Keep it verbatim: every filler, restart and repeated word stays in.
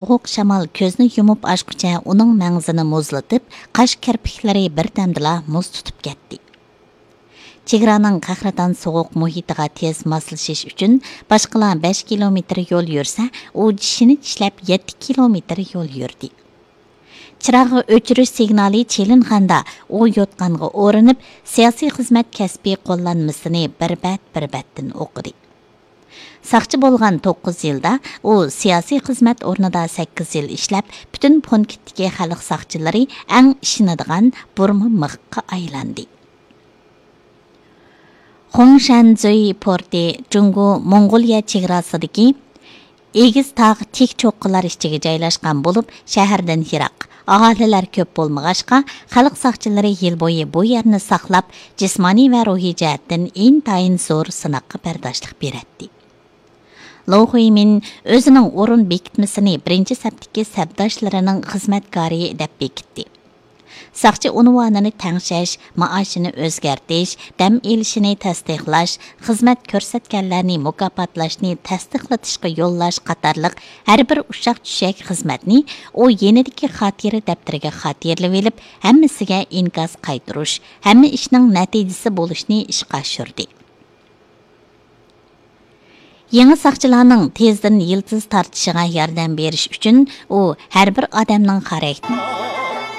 سوغۇق شامال كۆزنى يۇمۇپ ئاچقۇچە ئۇنىڭ مەڭزىنى مۇزلىتىپ، قاش كىرپىكلىرى بىردەمدىلا مۇز تۇتۇپ كەتتى. چېگرانىڭ قەھرىتان سوغۇق مۇھىتىغا تېز ماسلىشىش ئۈچۈن باشقىلار بەش كىلومېتىر يول يۈرسە، ئۇ چىشىنى چىشلەپ يەتتە كىلومېتىر يول يۈردى. چىراغ ئۆچۈرۈش سىگنالى چېلىنغاندا، ئۇ يوتقانغا ئورىنىپ، سىياسىي خىزمەت كەسپىي قوللانمىسىنى بىر بەت بىر بەتتىن ئوقۇدى. ساقچى بولغان توققۇز يىلدا ئۇ سىياسىي خىزمەت ئورنىدا سەككىز يىل ئىشلەپ، پۈتۈن پونكىتتىكى خەلق ساقچىلىرى ئەڭ ئىشىنىدىغان بۇرما مىخقا ئايلاندى. خۇڭشەنزۈي پورتى جۇڭگو موڭغۇلىيە چېگراسىدىكى ئېگىز تاغ، تىك چوققىلار ئىچىگە جايلاشقان بولۇپ، شەھەردىن يىراق، ئاھالىلەر كۆپ بولمىغاچقا، خەلق ساقچىلىرى يىل بويى بۇ يەرنى ساقلاپ، جىسمانىي ۋە روھىي جەھەتتىن ئىنتايىن زور سىناققا بەرداشلىق بېرەتتى. لو خۇيمىن ئۆزىنىڭ ئورۇن بېكىتمىسىنى بىرىنچى سەپتىكى سەپداشلىرىنىڭ خىزمەتكارى دەپ بېكىتتى. ساقچى ئۇنۋانىنى تەڭشەش، مائاشىنى ئۆزگەرتىش، دەم ئېلىشىنى تەستىقلاش، خىزمەت كۆرسەتكەنلەرنى مۇكاپاتلاشنى تەستىقلىتىشقا يوللاش قاتارلىق ھەر بىر ئۇششاق-چۈششەك خىزمەتنى ئۇ يېنىدىكى خاتىرە دەپتىرىگە خاتىرىلىۋېلىپ، ھەممىسىگە ئىنكاس قايتۇرۇش، ھەممە ئىشنىڭ نەتىجىسى بولۇشنى ئىشقا ئاشۇردى. يېڭى ساقچىلارنىڭ تېزدىن يىلتىز تارتىشىغا ياردەم بېرىش ئۈچۈن ئۇ ھەر بىر ئادەمنىڭ خاراكتېرى